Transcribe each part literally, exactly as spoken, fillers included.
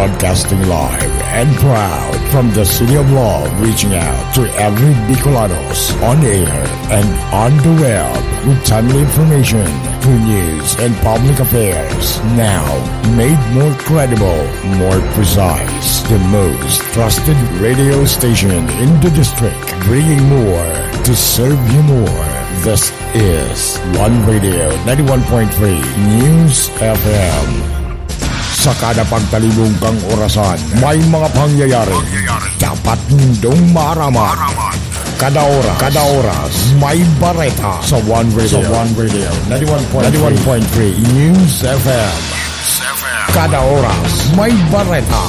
Broadcasting live and proud from the City of Love, reaching out to every Bicolanos on air and on the web with timely information, good news, and public affairs. Now, made more credible, more precise. The most trusted radio station in the district, bringing more to serve you more. This is One Radio, ninety-one point three News F M. Sa kada pagtalibong kang orasan, may mga pangyayari dapat nindong maaraman. Kada oras, kada oras, may bareta sa One Radio. Sa One Radio, ninety-one point three News F M. Kada oras, may bareta.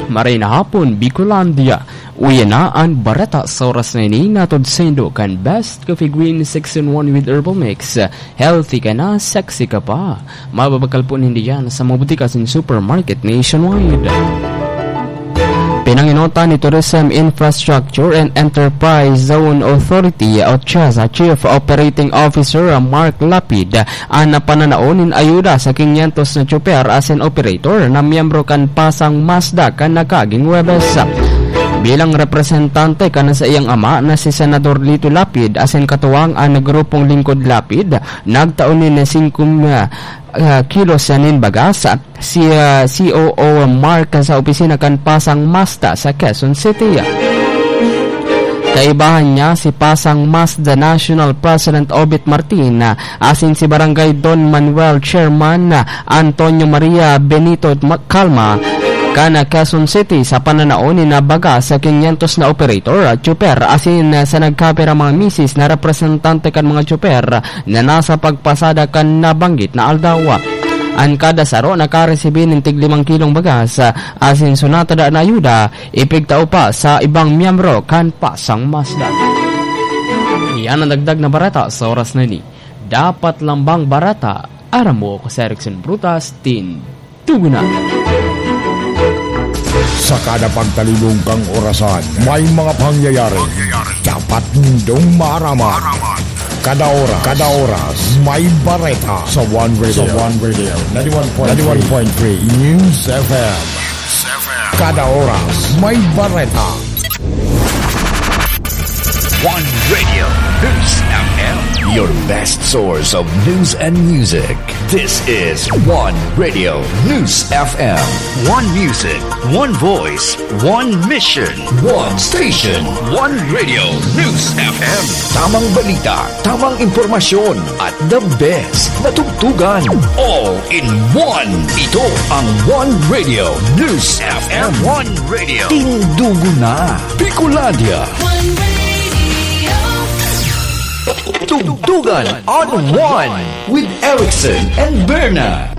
Maray na hapon, Bicolandia. Uya na an bareta sa oras na ini, hatod saindo kan Best Coffee Green Section one with Herbal Mix. Healthy ka na, sexy ka pa. Mababakal po ninda yan sa mga butika asin supermarket nationwide. Pinangenotan ni Tourism Infrastructure and Enterprise Zone Authority o CHEZA Chief Operating Officer Mark Lapid an pananao nin ayuda sa kinyentos na tsoper asin operator na miyembro kan Pasang Mazda kan nakaaging Huwebes. Bilang representante kan saiyang ama na si Senador Lito Lapid asin katuwang an Grupong Lingkod Lapid, nagtao nin singko, ah, ah, kilos nin bagas si, ah, C O O Mark sa opisina kan Pasang Mazda sa Quezon City. Kaibahan niya si Pasang Mazda National President Obit Martin, ah, asin si Barangay Don Manuel Chairman, ah, Antonio Maria Benito Ma-, Calma, kan, ah, Quezon City sa pananao nin bagas sa kinyentos na operator, ah, tsoper, asin, ah, sa nagkapirang mga misis na representante kan mga tsoper, na nasa pagpasada kan nabanggit na aldaw. An kada saro nakaresibi nin tig limang kilong bagas, asin sa natada na ayuda, ipigtao pa sa ibang miyembro kan Pasang Mazda. Iyan an dagdag na bareta sa oras na ini. Dapat lambang bareta, aram mo, ako si Erickson Brutas, Tin Tugunan. Sa kada pagtalibong kang orasan, may mga pangyayari dapat nindong maaraman. Kada oras, kada oras, may bareta sa One Radio. Sa One Radio, ninety-one point three News F M. Kada oras, may bareta. One Radio News F M. Your best source of news and music. This is One Radio News F M. One music, one voice, one mission. One station. One Radio News F M. Tamang balita, tamang impormasyon, at the best na tugtugan. All in one. Ito ang One Radio News F M. One Radio. Tindugo na. Bicolandia. One Radio. Tugtugan on One with Erickson and Berna.